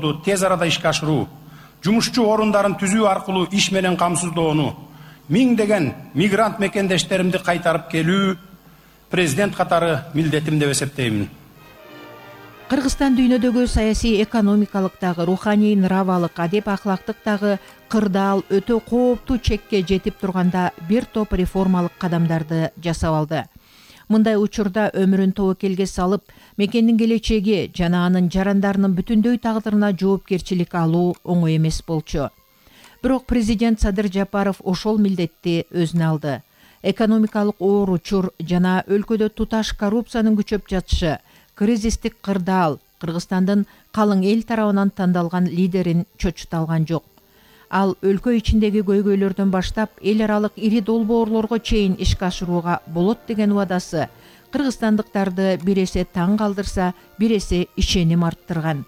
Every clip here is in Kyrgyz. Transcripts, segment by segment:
долбоорлорду тез арада ишке ашыруу, жумушчу орундарын түзүү аркылуу иш менен камсыздоону, миңдеген мигрант мекендештеримди кайтарып келүү президент катары милдетим деп эсептеймин. Кыргызстан дүйнөдөгү саясий, экономикалык дагы, руханий, нравалык, адеп ахлактык дагы кырдаал өтө кооптуу чекке жетип турганда бир топ реформалык кадамдарды жасап алды. Мындай учурда өмүрүн тобокелге салып, мекендин келечеги жана анын жарандарынын бүтүндөй тагдырына жоопкерчилик алуу оңой эмес болчу. Бирок президент Садыр Жапаров ошол милдетти өзүнө алды. Экономикалык оор учур жана өлкөдө туташ коррупциянын күчөп жатышы, кризистик кырдаал Кыргызстандын калың эл тарабынан тандалган лидерин чочута алган жок. Ал өлкө ичиндеги көйгөйлөрдөн баштап эл аралык ири долбоорлорго чейин ишке ашырууга болот деген убадасы кыргызстандыктарды бир эсе таң калтырса, бир эсе ишеним арттырган.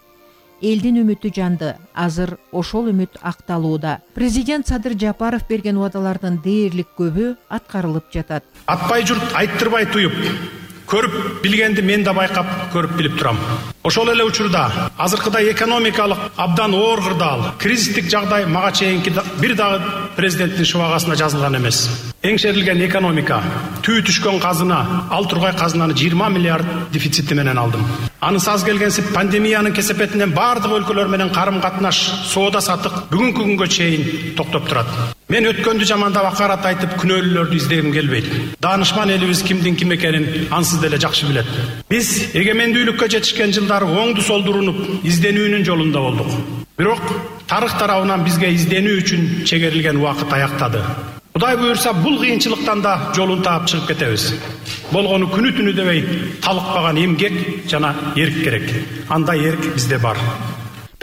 Элдин үмүтү жанды. Азыр ошол үмүт акталууда. Президент Садыр Жапаров берген убадалардын дээрлик көбү аткарылып жатат. Атпай журт айттырбай туюп, көрүп билгенди мен да байкап, көрүп билип турам. Ошол эле учурда азыркыдай экономикалык абдан оор кырдаал, кризистик жагдай мага чейинки бир дагы президенттин шыбагасына жазылган эмес. Эңшерилген экономика, түү түшкөн казына, ал тургай казынаны 20 миллиард дефицити менен алдым. Анысы аз келгенсип пандемиянын кесепетинен бардык өлкөлөр менен карым-катнаш, соода сатык бүгүнкү күнгө чейин токтоп турат. Мен өткөндү жамандап акарат айтып күнөөлүүлөрдү издегим келбейт. Даанышман элибиз кимдин ким экенин ансыз деле жакшы билет. Биз эгемендүүлүккө жетишкен жылдары оңду солду урунуп, изденүүнүн жолунда болдук. Бирок тарых тарабынан бизге изденүү үчүн чегерилген убакыт аяктады. Кудай буюрса, бул кыйынчылыктан да жолун таап чыгып кетебиз. Болгону күнү түнү дебей талыкпаган эмгек жана эрк керек. Андай эрк бизде бар.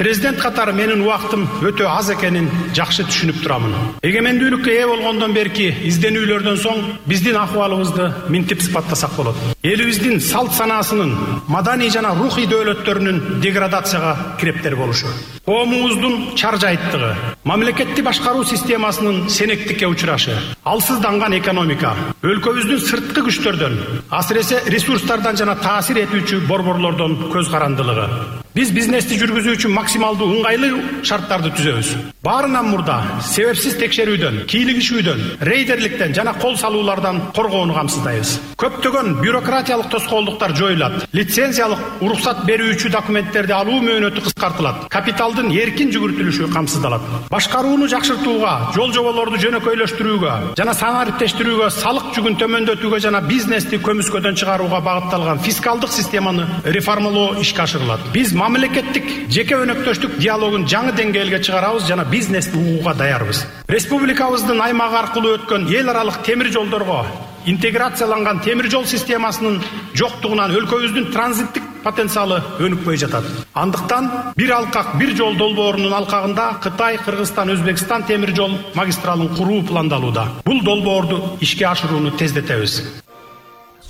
Президент катары менин убактым өтө аз экенин жакшы түшүнүп турамын. Эгемендүүлүккө ээ болгондон берки изденүүлөрдөн соң биздин акыбалыбызды минтип сыпаттасак болот. Элибиздин салт санаасынын, маданий жана рухий дөөлөттөрүнүн деградацияга кирептер болушу, коомубуздун чаржайттыгы, мамлекетти башкаруу системасынын сенектикке учурашы, алсызданган экономика, өлкөбүздүн сырткы күчтөрдөн, асыресе ресурстардан жана таасир этүүчү борборлордон көз карандылыгы. Биз бизнести жүргүзүү үчүн максималдуу ыңгайлуу шарттарды түзөбүз. Баарынан мурда себепсиз текшерүүдөн, кийлигишүүдөн, рейдерликтен жана кол салуулардан коргоону камсыздайбыз. Көптөгөн бюрократиялык тоскоолдуктар жоюлат. Лицензиялык уруксат берүүчү документтерди алуу мөөнөтү кыскартылат. Капиталдын эркин жүгүртүлүшү камсыздалат. Башкарууну жакшыртууга, жол жоболорду жөнөкөйлөштүрүүгө жана санариптештирүүгө, салык жүгүн төмөндөтүүгө жана бизнести көмүскөдөн чыгарууга багытталган фискалдык системаны реформалоо ишке ашырылат. Биз мамлекеттик жеке өнөктөштүк диалогун жаңы деңгээлге чыгарабыз жана бизнести угууга даярбыз. Республикабыздын аймагы аркылуу өткөн эл аралык темир жолдорго интеграцияланган темир жол системасынын жоктугунан өлкөбүздүн транзиттик потенциалы өнүкпөй жатат. Андыктан бир алкак, бир жол долбоорунун алкагында Кытай, Кыргызстан, Өзбекстан темир жол магистралын куруу пландалууда. Бул долбоорду ишке ашырууну тездетебиз.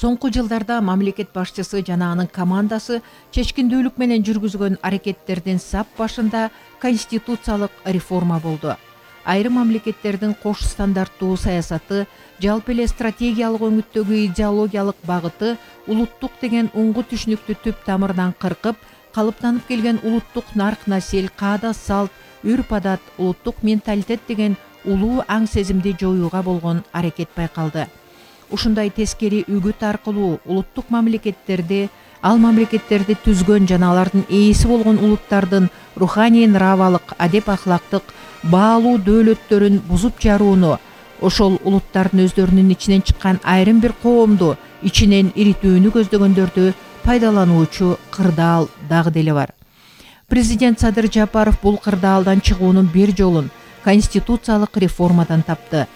Соңку жылдарда мамлекет башчысы жана анын командасы чечкиндүүлүк менен жүргүзгөн аракеттердин сап башында конституциялык реформа болду. Айрым мамлекеттердин кош стандарттуу саясаты, жалпы эле стратегиялык өңүттөгү идеологиялык багыты улуттук деген уңгу түшүнүктү түп тамырынан кыркып, калыптанып келген улуттук нарк-насил, каада салт, үрп-адат, улуттук менталитет деген улуу аң сезимди жоюуга болгон аракет байкалды. Ушундай тескери үгүт аркылуу улуттук мамлекеттерди, ал мамлекеттерди түзгөн жана алардын ээси болгон улуттардын руханий, нравалык, адеп ахлактык баалуу дөөлөттөрүн бузуп жарууну, ошол улуттардын өздөрүнүн ичинен чыккан айрым бир коомду ичинен иритүүнү көздөгөндөрдү пайдалануучу кырдаал дагы деле бар. Президент Садыр Жапаров бул кырдаалдан чыгуунун бир жолун конституциялык реформадан тапты.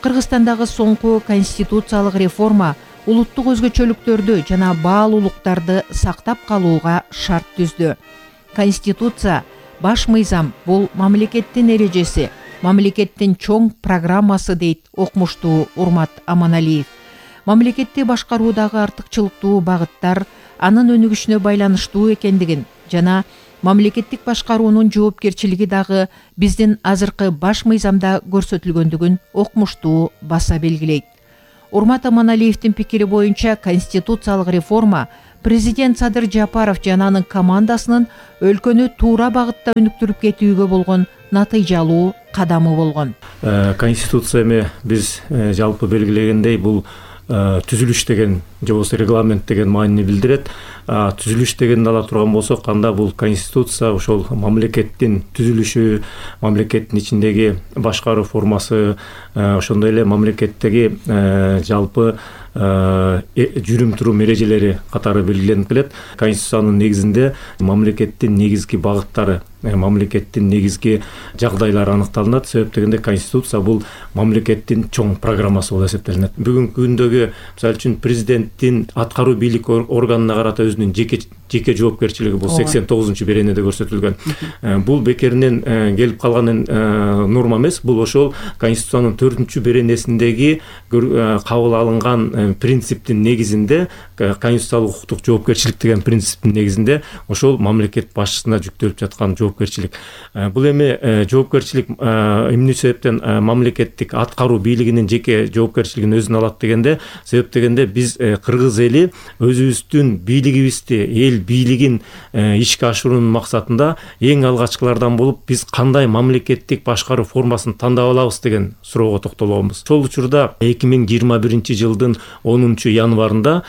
Кыргызстандагы соңку конституциялык реформа улуттук өзгөчөлүктөрдү жана баалуулуктарды сактап калууга шарт түздү. Конституция баш мыйзам, бул мамлекеттин эрежеси, мамлекеттин чоң программасы дейт окумуштуу Урмат Аманалиев. Мамлекетти башкаруудагы артыкчылыктуу багыттар анын өнүгүшүнө байланыштуу экендигин жана мамлекеттик башкаруунун жоопкерчилиги дагы биздин азыркы баш мыйзамда көрсөтүлгөндүгүн окумуштуу баса белгилейт. Урмат Аманалиевдин пикири боюнча конституциялык реформа президент Садыр Жапаров жана анын командасынын өлкөнү туура багытта өнүктүрүп кетүүгө болгон натыйжалуу кадамы болгон. Конституция эми биз жалпы белгилегендей бул түзүлүш деген же болбосо регламент деген маанини билдирет. Түзүлүш дегенди ала турган болсок, анда бул конституция ошол мамлекеттин түзүлүшү, мамлекеттин ичиндеги башкаруу формасы, ошондой эле мамлекеттеги жалпы жүрүм турум эрежелери катары белгиленип келет. Конституциянын негизинде мамлекеттин негизги багыттары, мамлекеттин негизги жагдайлары аныкталынат. Себеп дегенде конституция бул мамлекеттин чоң программасы болуп эсептелинет. Бүгүнкү күндөгү мисалы үчүн президенттин аткаруу бийлик органына карата өзүнүн жеке жоопкерчилиги бул 89-беренеде көрсөтүлгөн. Бул бекеринен келип калган норма эмес. Бул ошол конституциянын 4-беренесиндеги кабыл алынган принциптин негизинде, конституциялык укуктук жоопкерчилик деген принциптин негизинде ошол мамлекет башчысына жүктөлүп жаткан жоопкерчилик. Бул эми жоопкерчилик эмне себептен мамлекеттик аткаруу бийлигинин жеке жоопкерчилигин өзүнө алат дегенде, себеп дегенде биз кыргыз эли өзүбүздүн бийлигибизди, эл бийлигин ишке ашыруунун максатында эң алгачкылардан болуп биз кандай мамлекеттик башкаруу формасын тандап алабыз деген суроого токтолгонбуз. Ошол учурда 2021-жылдын 10-январында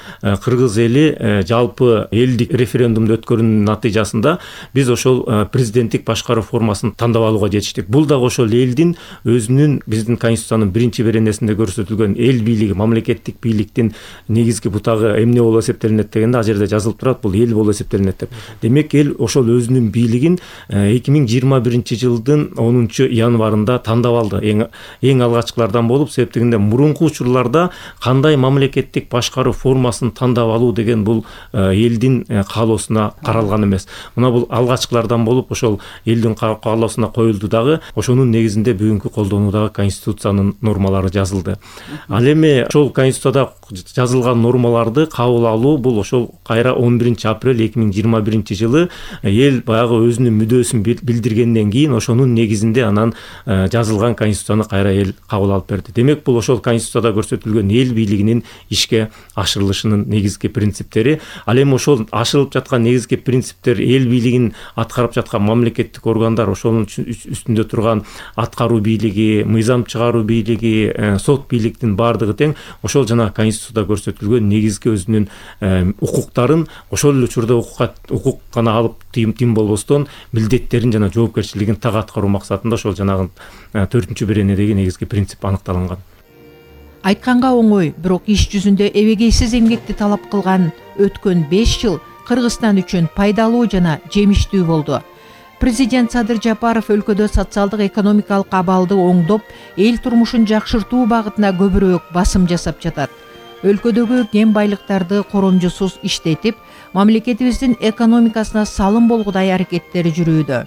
кыргыз эли жалпы элдик референдумду өткөрүүнүн натыйжасында биз ошол президенттик башкаруу формасын тандап алууга жетиштик. Бул дагы ошол элдин өзүнүн, биздин конституциянын 1-беренесинде көрсөтүлгөн эл бийлиги, мамлекеттик бийликтин негизги бутагы эмне болуп эсептелинет дегенде, ал жерде жазылып турат, бул эл болуп эсептелинет деп. Демек эл ошол өзүнүн бийлигин 2021-жылдын 10-январында тандап алды, эң алгачкылардан болуп. Себеп дегенде мурунку учурларда кандай мамлекеттик башкаруу формасын тандап алуу деген бул элдин каалоосуна каралган эмес. Мына бул алгачкылардан болуп ошол элдин каалоосуна коюлду дагы, ошонун негизинде бүгүнкү колдонуудагы конституциянын нормалары жазылды. Ал эми ошол конституцияда жазылган нормаларды кабыл алуу бул ошол кайра 11-апрель 2021-жылы эл баягы өзүнүн мүдөөсүн билдиргенден кийин ошонун негизинде анан жазылган конституцияны кайра эл кабыл алып берди. Демек бул ошол конституцияда көрсөтүлгөн эл бийлигинин ишке ашырылышынын негизги принциптери. Ал эми ошол ашырылып жаткан негизги принциптер, эл бийлигин аткарып жаткан мамлекеттик органдар, ошонун үстүндө турган аткаруу бийлиги, мыйзам чыгаруу бийлиги, сот бийликтин баардыгы тең ошол жана конституцияда көрсөтүлгөн негизги өзүнүн укуктарын ошол эле учурда укук гана алып тим болбостон милдеттерин жана жоопкерчилигин так аткаруу максатында ошол жанагы 4-беренедеги негизги принцип аныкталган. Айтканга оңой, бирок иш жүзүндө эбегейсиз эмгекти талап кылган өткөн 5 жыл Кыргызстан үчүн пайдалуу жана жемиштүү болду. Президент Садыр Жапаров өлкөдө социалдык экономикалык абалды оңдоп, эл турмушун жакшыртуу багытына көбүрөөк басым жасап жатат. Өлкөдөгү кен байлыктарды коромжусуз иштетип, мамлекетибиздин экономикасына салым болгудай аракеттери жүрүүдө.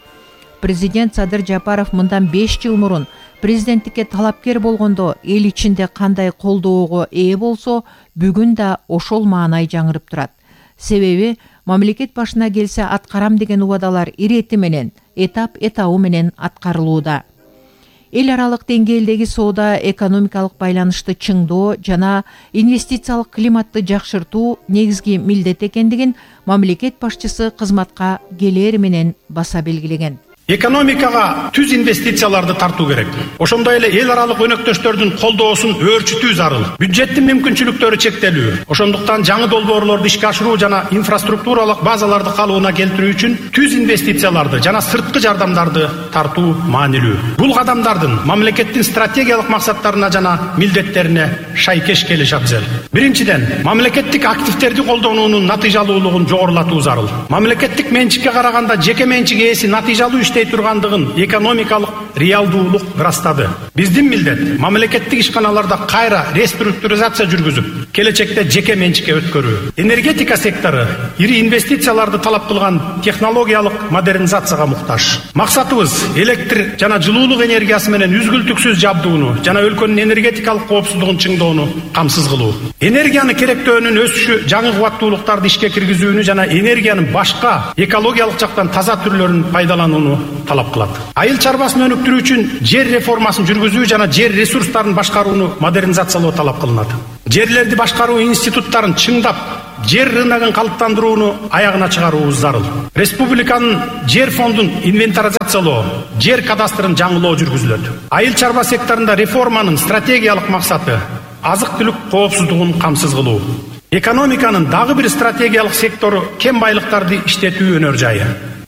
Президент Садыр Жапаров мындан 5 жыл мурун президенттикке талапкер болгондо эл ичинде кандай колдоого ээ болсо, бүгүн да ошол маанай жаңырып турат. Себеби мамлекет башына келсе аткарам деген убадалар ирети менен, этап-этабы менен аткарылууда. Эл аралык деңгээлдеги соода экономикалык байланышты чыңдоо жана инвестициялык климатты жакшыртуу негизги милдет экендигин мамлекет башчысы кызматка келери менен баса белгилеген. Экономикага түз инвестицияларды тартуу керек. Ошондой эле эл аралык өнөктөштөрдүн колдоосун өөрчүтүү зарыл. Бюджеттин мүмкүнчүлүктөрү чектелүү. Ошондуктан жаңы долбоорлорду ишке ашыруу жана инфраструктуралык базаларды калыбына келтирүү үчүн түз инвестицияларды жана сырткы жардамдарды тартуу маанилүү. Бул кадамдардын мамлекеттин стратегиялык максаттарына жана милдеттерине шайкеш келиши абзел. Биринчиден, мамлекеттик активдерди колдонуунун натыйжалуулугун жогорулатуу зарыл. Мамлекеттик менчикке караганда жеке менчик ээси натыйжалуу тургандыгын экономикалык реалдуулук ырастады. Биздин милдет мамлекеттик ишканаларда кайра реструктуризация жүргүзүп, келечекте жеке менчикке өткөрүү. Энергетика сектору ири инвестицияларды талап кылган технологиялык модернизацияга муктаж. Максатыбыз электр жана жылуулук энергиясы менен үзгүлтүксүз жабдууну жана өлкөнүн энергетикалык коопсуздугун чыңдоону камсыз кылуу. Энергияны керектөөнүн өсүшү жаңы кубаттуулуктарды ишке киргизүүнү жана энергиянын башка экологиялык жактан таза түрлөрүн пайдаланууну талап кылат. Айыл чарбасын өнүктүрүү үчүн жер реформасын жүргүзүү жана жер ресурстарын башкарууну модернизациялоо талап кылынат. Жерлерди башкаруу институттарын чыңдап, жер рыногун калыптандырууну аягына чыгаруубуз зарыл. Республиканын жер фондун инвентаризациялоо, жер кадастрын жаңылоо жүргүзүлөт. Айыл чарба секторунда реформанын стратегиялык максаты азык-түлүк коопсуздугун камсыз кылуу. Экономиканын дагы бир стратегиялык сектору кен байлыктарды иштетүү өнөр жайы.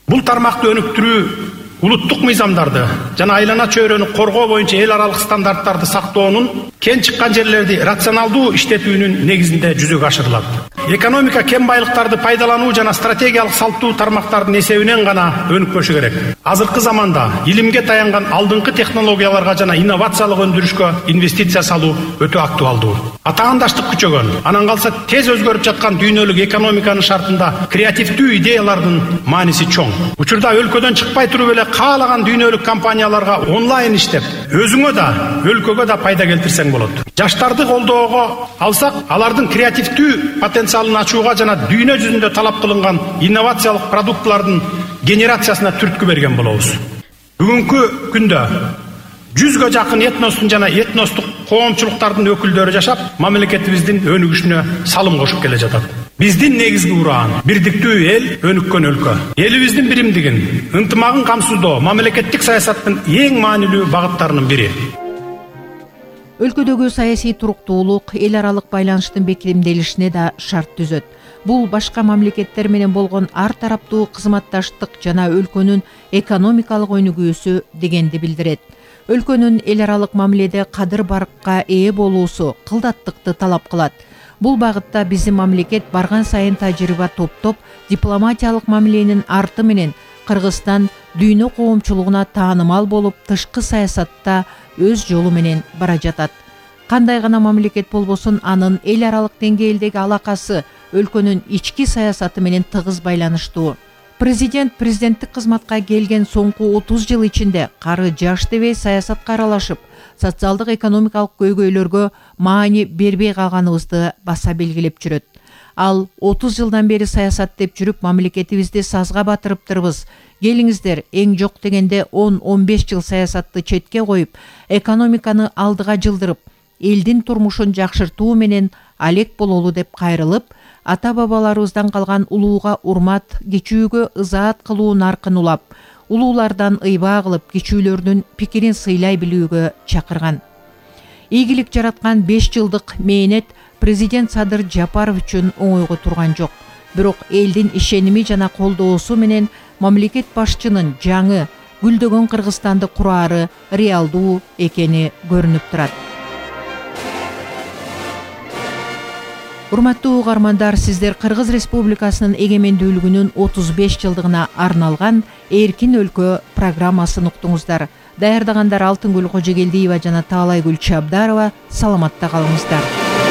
Бул тармакты өнүктүрүү улуттук мыйзамдарды жана айлана чөйрөнү коргоо боюнча эл аралык стандарттарды сактоонун, кен чыккан жерлерди рационалдуу иштетүүнүн негизинде жүзөгө ашырылат. Экономика кен байлыктарды пайдалануу жана стратегиялык салттуу тармактардын эсебинен гана өнүкпөшү керек. Азыркы заманда илимге таянган алдыңкы технологияларга жана инновациялык өндүрүшкө инвестиция салуу өтө актуалдуу. Атаандаштык күчөгөн, анан калса тез өзгөрүп жаткан дүйнөлүк экономиканын шартында креативдүү идеялардын мааниси чоң. Учурда өлкөдөн чыкпай туруп эле каалаган дүйнөлүк компанияларга онлайн иштеп, өзүңө да, өлкөгө да пайда келтирсең болот. Жаштарды колдоого алсак, алардын креативдүү потенциалын ачууга жана дүйнө жүзүндө талап кылынган инновациялык продуктлардын генерациясына түрткү берген болобуз. Бүгүнкү күндө 100гө жакын этностун жана этностук коомчулуктардын өкүлдөрү жашап, мамлекетибиздин өнүгүшүнө салым кошуп келе жатат. Биздин негизги ураан бирдиктүү эл, өнүккөн өлкө. Элибиздин биримдигин, ынтымагын камсыздоо мамлекеттик саясаттын эң маанилүү багыттарынын бири. Өлкөдөгү саясий туруктуулук эл аралык байланыштын бекемделишине да шарт түзөт. Бул башка мамлекеттер менен болгон ар тараптуу кызматташтык жана өлкөнүн экономикалык өнүгүүсү дегенди билдирет. Өлкөнүн эл аралык мамиледе кадыр баркка ээ болуусу кылдаттыкты талап кылат. Бул багытта биздин мамлекет барган сайын тажрыйба топтоп, дипломатиялык мамиленин арты менен Кыргызстан дүйнө коомчулугуна таанымал болуп, тышкы саясатта өз жолу менен бара жатат. Кандай гана мамлекет болбосун, анын эл аралык деңгээлдеги алакасы өлкөнүн ички саясаты менен тыгыз байланыштуу. Президенттик кызматка келген соңку 30 жыл ичинде кары жаш дебей саясатка аралашып, социалдык экономикалык көйгөйлөргө маани бербей калганыбызды баса белгилеп жүрөт. Ал 30 жылдан бери саясат деп жүрүп, мамлекетибизди сазга батырыптырбыз. Келиңиздер, эң жок дегенде 10-15 жыл саясатты четке коюп, экономиканы алдыга жылдырып, элдин турмушун жакшыртуу менен алек бололу деп кайрылып, ата-бабаларыбыздан калган улууга урмат, кичүүгө ызаат кылуу наркын улап, улуулардан ыйбаа кылып, кичүүлөрдүн пикирин сыйлай билүүгө чакырган. Ийгилик жараткан 5 жылдык мээнет президент Садыр Жапаров үчүн оңойго турган жок. Бирок элдин ишеними жана колдоосу менен мамлекет башчынын жаңы гүлдөгөн Кыргызстанды курары реалдуу экени көрүнүп турат. Урматтуу угармандар, сиздер Кыргыз Республикасынын эгемендүүлүгүнүн 35 жылдыгына арналган Эркин өлкө программасын уктуңуздар. Даярдагандар Алтынгүл Кожогелдиева жана Таалайгүл Чабдарова. Саламатта калыңыздар.